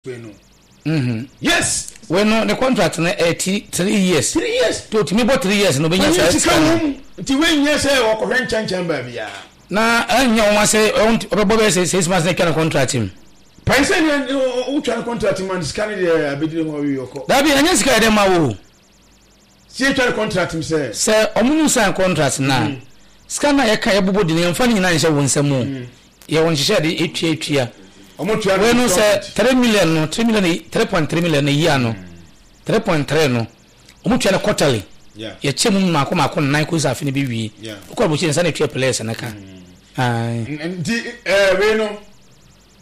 Wei no. Mm-hmm. Yes. Wei no ne contract no ɛyɛ ti 3 years. 3 years. To otumi bɔ 3 years na obenya saa sika no. Nti wei nyɛ sɛ ɔkɔhwɛ nkyɛnkyɛn baabi a. Na ɛnyɛ wɔn sɛ ɔbɛbɔ bɛyɛ sɛ 6 months na atwa ne contract mu. Pɛn sɛ ne wotwa ne contract mu a sika no deɛ abɛdire ho awie ɔkɔ. Dabi, ɛnyɛ sika yɛ dɛ ma wo. Si etwa ne contract mu sɛ. Sɛ ɔmo nu sign contract na sika na yɛka yɛbobɔ di no, yɛmfa ne nyinaa nhyɛ wo nsam o. Yɛwɔ nhyehyɛ de etua etua. Ɔmo tua no Wei no sɛ 3 million no, 3 million, 3.3 million no yia no, 3.3 no ɔmo tua no quarterly. Yɛkyɛ mu mako mako nnan kosi sɛ afe no bi wie. Wokɔ aburokyire nsa na etua players no ka. Nti wei no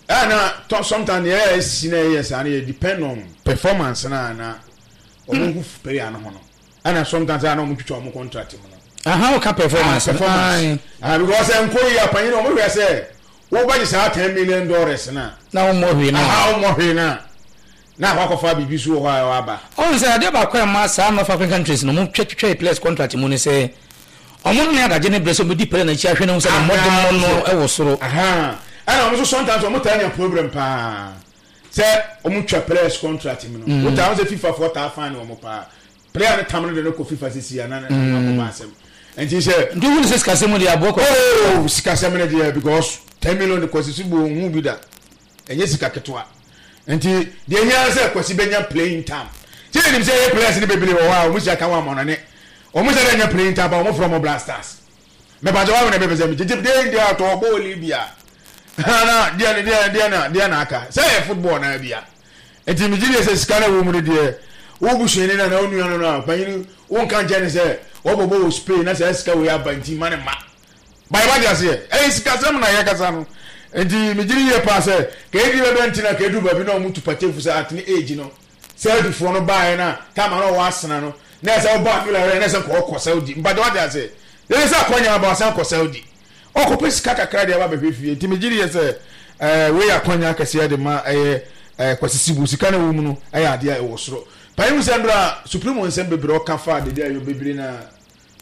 ɛna sometimes yɛ esi na yɛ saa no yɛ depend on performance na na ɔmo hu player no ho no, ɛna sometimes ɛna ɔmo twitwa ɔmo contract mu no. Aha, o ka performance. Performance, ah, because nko yi apanyin ɔmo hwɛ sɛ wo bɛ gye saa $10 million na. Na wɔn mɔ hwee na. Aha, wɔn mɔ hwee na na akɔ akɔfa biribi so wɔ hɔ a ɛwɔ aba. Ɔn sɛ adeɛ baako a ɛma saa North African countries no ɔmo twɛ twitwa players contract mu ne sɛ ɔmo ne adagye ne brɛ sɛ ɔmo di player n'akyi ahwɛ ne ho sɛ ne mmɔdemmɔ no ɛwɔ soro. Ɛna ɔmo nso sometimes ɔmo taa nya problem paa sɛ ɔmo twa players contract mu no. Wota wɔn sɛ FIFA foɔ taa fine wɔn paa. Player no tam no de no kɔ FIFA sisi a na na akɔ ba asɛm. Nti sɛ. Nti wuli sɛ sikasɛm mu deɛ aboɔ kɔ. Oh, sikasɛm no deɛ, because 10 million de Kwasi so bu ohun bi da, ɛnyɛ sika ketewa. Nti deɛ ehia sɛ Kwasi bɛnya playing time. Sɛ yɛnim sɛ ɛyɛ players no bebree wɔ hɔ a wɔn si aka wɔn amɔnɔne, wɔn sɛ dɛ nya playing time ba, wɔn frɛ wɔn Black Stars. Mɛpàtɛ wɔn na bɛpɛ sɛ gyegye deɛ deɛ atɔ ɔbɔ Libya na deɛ deɛ deɛ na deɛ na aka sɛ ɛyɛ football na bia. Nti megye deɛ sɛ sika no wɔ mu no deɛ, wo busuani no anaa wo nua no no a panyin wo nka nkyɛn ne sɛ wɔbɔbɔ wɔ Spain na saa sika wei aba nti ma ne ma bayɛ wate aseɛ. Ɛyɛ sikasɛm na yɛkasa no. Nti megye di yie paa sɛ kɛdi bɛbɛ nti na kɛdu baabi na ɔmo tu patefo sɛ at ne age no Saudifoɔ no baeɛ na tama na ɔwɔ asena no na ɛsɛ ɔbɔ afila na ɛsɛ nkɔ ɔkɔ Saudi mpatɛ wate aseɛ ɛsɛ sɛ akɔnya aba ɔsan kɔ Saudi ɔkɔpɛ sika kakra deɛ aba bɛhwɛ fie. Nti megye di yɛ sɛ wei yɛ akwanya akɛseɛ de ma ɛyɛ Kwasi Sibu. Sika no ɛwɔ mu no ɛyɛ adeɛ a ɛwɔ soro panyin mu sɛ ndora Supremo nsɛm bebree ɔka fa dede ayɔ bebree na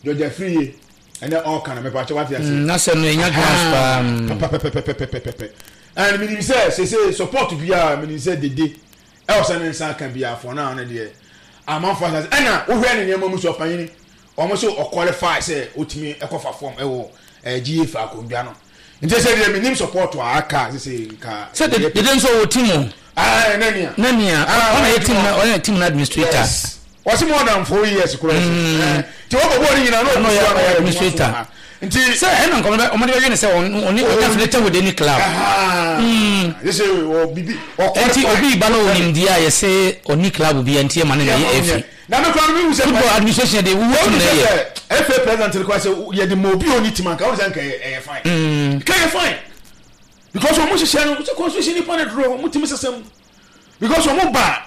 George Afriyie ɛnɛ ɔka no mepɛ akyɛ wate ase. Na sɛ no ɛnya grounds paa. Pɛpɛpɛpɛpɛpɛpɛ. And menim sɛ sese support biara, menim sɛ dede ɛwɔ sɛ ne nsa aka biara for now no deɛ amanfo asase. Ɛna wohwɛ ne nneɛma mu so ɔpanyin, wɔn so ɔqualify sɛ otumi ɛkɔfa fam ɛwɔ GFA akonnwa no. Nti sɛ deɛ menim support a aka sese nka. Sɛ dede nso wɔ team o. Aa, nania. Nania ɔna yɛ team na ɔyɛ team na administrator. Yes, wɔsi more than 4 years kura ɛsɛ nti wɔbɔ bɔɔl nyinaa na ɔno yɛ administrator. Nti sɛ ɛna nkɔmɔ bɛ ɔmo de bɛyɛ ne sɛ ɔne ɔnyɛ affiliated with any club. Yɛsɛ wɔ bibi. Nti obi ba na onim deɛ a yɛsɛ ɔni club bi nti ɛma ne na yɛ efi. Na mi kura mi hu sɛ football administration de wuwu team na yɛ. FA president kura sɛ yɛde ma obi a ɔni team anka ɔno sɛ nka ɛyɛ fine. Nka ɛyɛ fine because ɔmo hyehyɛ no sɛ constitution nipa ne duro ɔmo timi sɛsɛm because ɔmo ba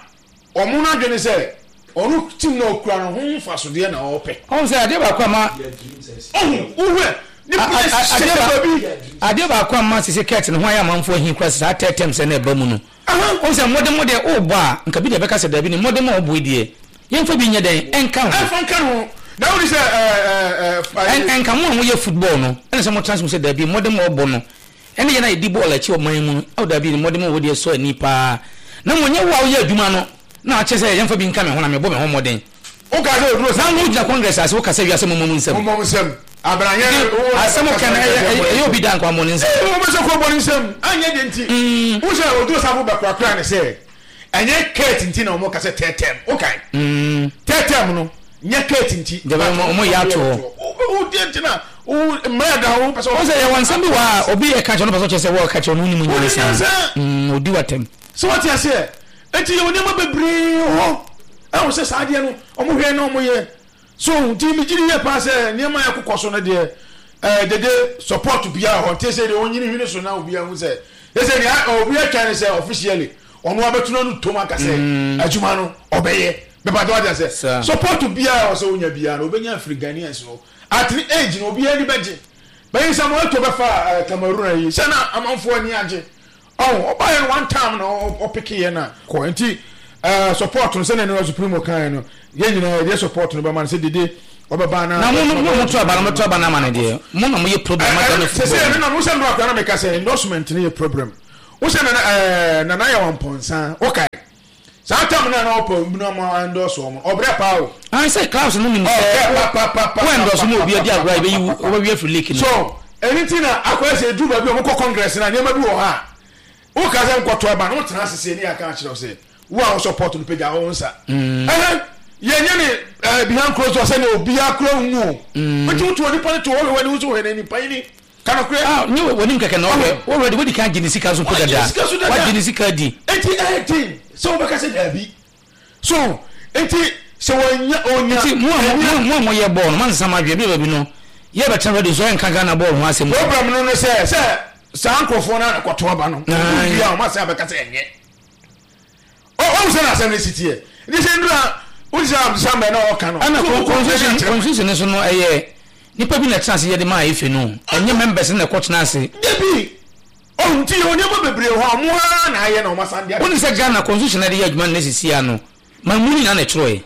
ɔmo n'adwene sɛ ɔno team na okura no ho nfasodeɛ na ɔpɛ. Ɔn sɛ adeɛ baako ama. Ɔho wohwɛ ne players hyehyɛ baabi. Adeɛ baako ama sisi kɛt ne ho ayɛ amanfoɔ ahi kora saa tɛtɛm sɛ na ɛba mu no. Ɔn sɛ mmɔden mo deɛ ɔrebɔ a nka bi deɛ bɛka sɛ dabi ne mmɔden mo a ɔbɔ yi deɛ yɛmfa bi nyɛ dɛn ɛnka ho. Ɛnfa nka ho na wuli sɛ ɛɛ ɛɛ. Ɛnka mo a moyɛ football no ɛna sɛ mo trans mu sɛ dabi mmɔden mo a ɔbɔ no ɛne yɛn a yɛdi bɔɔl akyi ɔman mu no ɛwɔ dabi ne mmɔden mo a ɔwɔ deɛ sɔ ani paa na mo nyɛ wo a woyɛ adwuma no na akyɛ sɛ yɛmfa bi nka me ho na mebɔ me ho mmɔden. Woka sɛ oduro na wo gyina Congress ase woka sɛ wiase mommɔ mu nsɛm. Mommɔ mu nsɛm. Abranyɛ asɛm ka no ɛyɛ obi da nkwa mmɔ ne nsɛm. Ee, wɔn sɛ kɔ bɔ ne nsɛm anyɛ de nti. Wo sɛ oduro safo bɛkorakora ne sɛ ɛnyɛ kɛɛt nti na wɔn ka sɛ tɛɛtɛm wokae. Tɛɛtɛm no nyɛ kɛɛt nti. Jɛbɛ wɔn yɛ ato hɔ. Wo deɛ nti na wo mmerɛ da wo pɛ sɛ. Wɔn sɛ yɛ wɔn nsɛm bi wɔ a obi yɛ ka kyerɛ no pɛ sɛ ɔkyerɛ sɛ wɔka kyerɛ no wonim nyansa. Odi watam. Sɛ wɔte aseɛ nti yɛ wɔ nneɛma bebree wɔ hɔ ɛwɔ sɛ saa adeɛ no wɔn hwɛ na wɔn yɛ so. Nti mi gyiri yɛ paa sɛ nneɛma yɛ kokɔ so no deɛ dede support biara hɔ. Nti sɛ deɛ onyini hwene so na obiara hu sɛ ɛsɛ nea obi atwa ne sɛ officially ɔno abɛtena no tom aka sɛ adwuma no ɔbɛyɛ bɛba de wate asɛ support biara wɔ sɛ wonya biara no obɛnya afiri Ghanaians no. At ne age no obiara ani bɛgye bɛyi sɛ mo ɛtɔ bɛfa Cameroon ayi sɛ na amanfoɔ ani agye. Ɔho ɔbaayɛ no one time na ɔpeke yɛ na kɔ. Nti support no sɛnea ne Supremo kan no, yɛn nyinaa yɛde support no bɛma no sɛ dede ɔbɛba na na mo mo mo to aba no, mo to aba no ama no deɛ, mo na mo yɛ problem ma Ghana football. Sɛ sɛ ɛno na mo sɛ nnora kora na meka sɛ endorsement no yɛ problem. Wosɛ nana ɛɛ nana yɛ wɔn pɔnsa wokae saa tam na na ɔpɛ obi na ɔmo endorse wɔn ɔbrɛ paa o. Ayi sɛ clubs no nim sɛ wo endorse mu obi adi agorɔ a ebeyi wo wɔbɛwi afiri league no. So ɛni ti na akɔyɛ sɛ edu baabi a wɔn kɔ congress na nneɛma bi wɔ hɔ a woka sɛ nkɔto aba na wotena ase sɛ ne yɛ aka akyerɛ wo sɛ wo a wo support no pagya wo nsa. Ɛhɛn yɛnyɛ ne ɛɛ behind closed door sɛ ne obiara kura nhu o. Nti wotu onipa no to hɔ hwɛ w'ani wo so hwɛ n'anim panyin. Ka nokorɛ. Ah, nye w'anim kɛkɛ na ɔhwɛ. Wo already wadi kan agye ne sika nso mpo dada. Wagye ne sika so dada. Wagye ne sika adi. Enti ɛyɛ den sɛ wobɛka sɛ daabi. So enti sɛ wanya onya. Nti mo a mo mo a moyɛ bɔɔl no moansesa mo adwene bi baabi no yɛ bɛtena radio so ɛnka Ghana bɔɔl ho asɛm. Problem no ne sɛ sɛ saa nkurɔfoɔ no ara na ɛkɔto aba no. Wɔn wie a wɔn asan abɛka sɛ ɛnyɛ. Ɔhu sɛ n'asɛm no si teɛ. Nti sɛ nnura wote sɛ Abdulsamad na ɔka no. Ɛna constitution constitution no so no ɛyɛ nipa bi na ɛtena ase yɛ de maa efe no ɛnyɛ members na ɛkɔ tena ase. Dabi ɔhu nti yɛwɔ nneɛma bebree hɔ a wɔn ara na ayɛ na wɔn asan de. Wonim sɛ Ghana constitution na ɛde yɛ adwuma nnɛ sisi ano Ma mu no nyinaa na ɛtwerɛeɛ.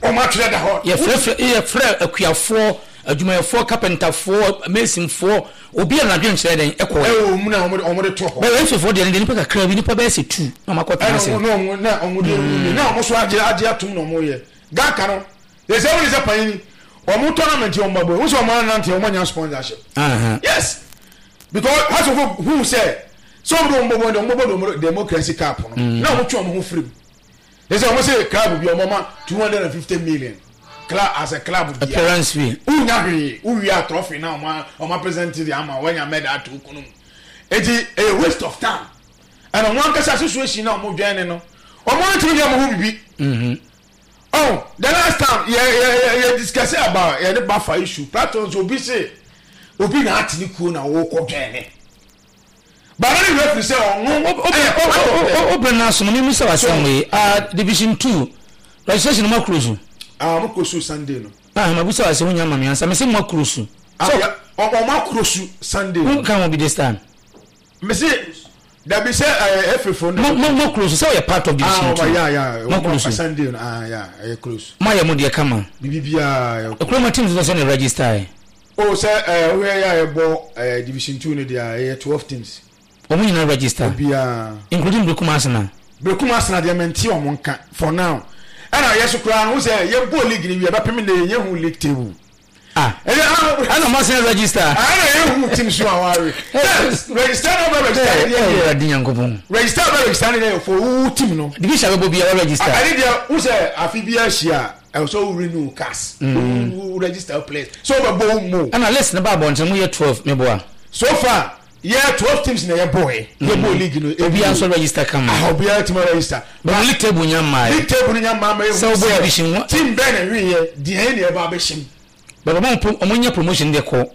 Wɔn atwerɛ da hɔ. Yɛfrɛfrɛ, yɛfrɛ akuafoɔ, adwumayɛfoɔ, kapɛntafoɔ, masonfoɔ, obiara na n'adwenkyerɛ dɛn ɛkɔeɛ. Ɛwɔ mu na wɔn de wɔn de to hɔ. Bɛyɛ Efefoɔ deɛ no deɛ nipa kakra bi, nipa bɛyɛ sɛ tu na wɔn akɔ tena ase. Ɛna wɔn na wɔn de mm. na wɔn so agye agye atum na wɔn yɛ. Gaka no, yɛ sɛ wɔn sɛ panyin, wɔn tournament wɔn ba bɔ, wɔn sɛ wɔn anante wɔn anya sponsorship. Uh -huh. Yes, because asofo hu sɛ sɛ wɔn de wɔn bɔ bɔ de wɔn bɔ bɔ democracy cup no, mm. na wɔn twe wɔn ho firi mu. They say wɔn se club bi wɔn ma 250 million club as a club bi. Appearance fee. Wunya hwee wuwia trophy na wɔn wɔn present de ama wɔnya medal ato kunu mu. Eti ɛyɛ waste of time. Ɛna wɔn ankasa association na wɔn dwɛn ne no wɔn antumi yɛ wɔn ho bibi. Oh, the last time yɛ yɛ yɛ yɛ discuss about yɛ ne bafa issue platforms obi se obi na ate ne kuo na wɔkɔ dwɛn ne. Baba ne werɛ firi sɛ ɔno yɛ part of them. Wo bere no aso no, memmisa wo asɛm wei. Ah, division 2, registration no moakuro so? Ah, wɔn kuro so Sunday no. Ah, mabisa wo asɛm wonya ma me ansa. Mese moakuro so. Ah, yeah, wɔn akuro so Sunday. Wo nka ho bi this time. Mese dabi sɛ ɛɛ efefo no. Mo mo kuro so sɛ ɔyɛ part of division 2. Ah, yeah, yeah. Mo kuro so. Sunday no, ah, yeah, ɛyɛ close. Mo ayɛ mo deɛ kama. Bibi biara. Ekuro mo team so sɛ ne register yɛ. Oh sɛ ɛɛ wohwɛ yɛ a yɛbɔ ɛɛ division 2 no deɛ a ɛyɛ 12 teams. Wɔn nyinaa register. Obiara. Including Berekum Arsenal. Berekum Arsenal deɛ mente wɔn nka for now. Ɛna yɛ so koraa no wo sɛ yɛbɔ league no wie bɛpem nnɛ yɛnyɛ hu league table. Ah. Ɛyɛ ah. Ɛna wɔn asan register. Ɛna yɛ hu team so a wɔawe. Sɛ register na ɔbɛ register ne deɛ yɛ. Ɛwurade Nyankopɔn. Register ɔbɛ register ne deɛ yɛ for wo team no. Division abɛbɔ biara register. Ɛne deɛ wo sɛ afe biara hyia a. Ɛwɔ sɛ wo renew cars. Wo register players. Sɛ wo bɛ bɔ wo mu. Ɛna list no ba abɔnten mo yɛ 12 me boa. So far yɛ 12 teams na yɛ bɔ yɛ. Yɛ bɔ league no. Obiara nso register kama. Ah obiara tuma register. But league table nya mmaa yɛ. League table nya mmaa ma yɛ. Sɛ wo bɔ division one. Team bɛn na wi yɛ deɛ na ɛba abɛhyɛ mu. But ɔmo ɔmo nya promotion de kɔ.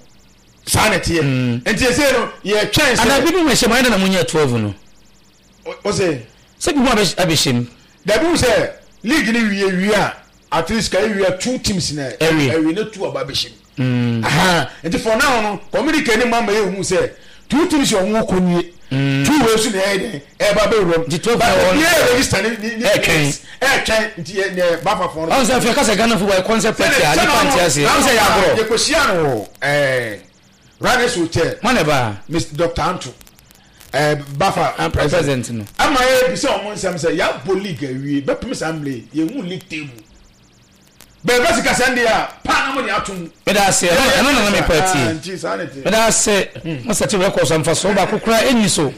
Saa na ɛteɛ. Nti ɛsɛ no yɛ twɛn sɛ. Ana bi bi mu ɛhyɛ mu ayɛ dɛ na mo nya 12 no. O se. Sɛ bi mu abɛhyɛ mu. Dabi wo sɛ league ni wie wie a at least ka ewie a two teams na ɛwie ɛwie ne two aba abɛhyɛ mu. Nti for now no communicate ne ma ma yɛ hu sɛ two teams yɛ ɔmo kɔ nie. Two wei so na ɛyɛ dɛn ɛba abɛwura mu. Nti 12 na wɔn yɛ register ne ne ne ɛtwɛn ɛtwɛn nti yɛ ne bafa fɔn. Ɔn sɛ afei kasa Ghana football yɛ concept party a nipa nte aseɛ. Ɔn sɛ yɛ agorɔ. Yɛ kɔ hyia no wɔ ɛɛ Ranes Hotel. Mo na ɛbaa. Mr Dr Anto. Eh, bafa ah, president no. Ama yɛ bisa wɔn nsɛm sɛ yɛabɔ league awie bɛpem saa mmerɛ yi yɛhu league table. Bɛɛbɛ sika sɛn deɛ a paa na mo de ato mu. Meda ase ɛno ɛno na na mepɛ atie. Meda ase mo sɛte records mfasoɔ baako koraa ɛnni so.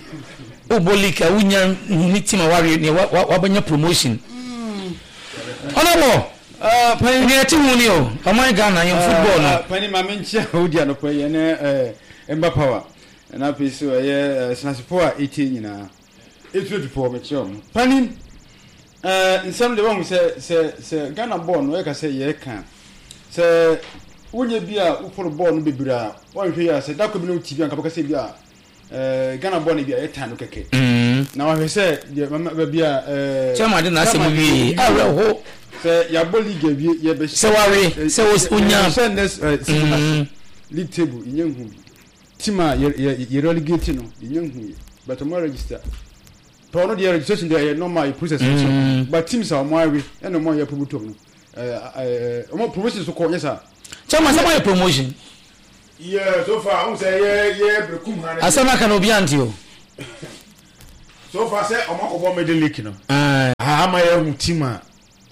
Wobɔ league a wonya ne team a wawe ne wabɛnya promotion. Honorable nea ɛte ho ni o ɔman Ghana yɛn football no. Pani maame nkyia wodi anɔpa yi ɛne Mba Power. Ɛna afei so ɛyɛ asenasefo a etie nyinaa. Etuatufo mekyerɛ wɔn. Panin, ɛɛ nsɛm deɛ wahu sɛ sɛ sɛ Ghana bɔɔl no yɛka sɛ yɛreka sɛ wonyɛ bi a wofolo bɔɔl no bebree a wanhwɛ yi a sɛ da koro bi na wotie bi a nka bɛka sɛ bi a ɛɛ Ghana bɔɔl no bi a yɛtan no kɛkɛ. Na wahwɛ sɛ deɛ mama baabi a ɛɛ Chairman de n'asɛm wie awerɛho. Sɛ yɛabɔ league awie yɛbɛhyɛ sɛ wawe sɛ wonya yɛbɛhyɛ next season ase league table yɛnyɛ nhu bi. Team a yɛ yɛ yɛ relegate no yɛnya nhu yɛ but ɔmo register tɔ ɔno deɛ registration deɛ ɛyɛ normal yɛ process no so but teams a ɔmo awe ɛna ɔmo a yɛ promote ɔmo no ɛɛ ɛɛ ɔmo promotion so kɔ nyɛ saa. Chairman sɛ mo ayɛ promotion. Yeah, so far, ɔmo sɛ yɛ yɛ berekum ha. Asɛm aka na obi ante o. So far sɛ ɔmo akɔbɔ middle league no. Ama yɛ hu team a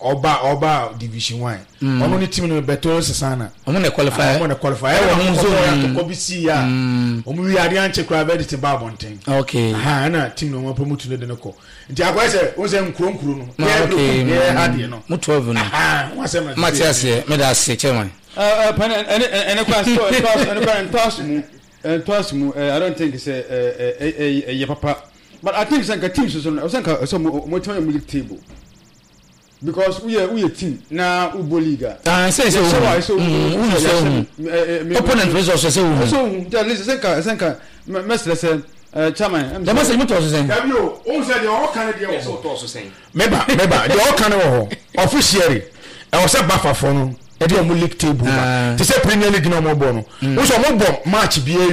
ɔba ɔba division one. Ɔno ne team no bɛtɔ sisana. Ɔmo na qualify. Ɔmo na qualify. Ɛwɔ ɔmo zone. Atɔkɔ bi si ya. Ɔmo wi adeɛ ankyɛ koraa bɛ de te ba abɔnten. Okay. Ɛna team no ɔmo promote no de no kɔ. Nti akɔyɛ sɛ o sɛ nkuro nkuro no. Yɛ okay. Yɛ ha deɛ no. Mo 12 no. Wɔn asɛm na. Mate aseɛ meda ase chairman. Ɛɛ pɛn ɛne ɛne kwan so ɛne kwan ntɔaso mu ntɔaso mu I don't think sɛ ɛɛ ɛyɛ papa but I think sɛ nka team soso no ɛsɛ nka ɛsɛ mo mo tɛn mo league table because woyɛ woyɛ team na wobɔ league a. Ah, sɛ sɛ wohu wohu sɛ wohu opponent results sɛ wohu. Ɛsɛ wohu nti at least ɛsɛ nka ɛsɛ nka mɛsrɛ sɛ chairman. Dɛm asɛ motɔ so sɛn. Dabi o, ohun sɛ deɛ ɔka no deɛ wɔ hɔ. Meba meba deɛ ɔka no wɔ hɔ officially ɛwɔ sɛ bafafoɔ no ɛde ɔmo league table ba te sɛ Premier League na ɔmo bɔ no. Wohu sɛ ɔmo bɔ match bi awie.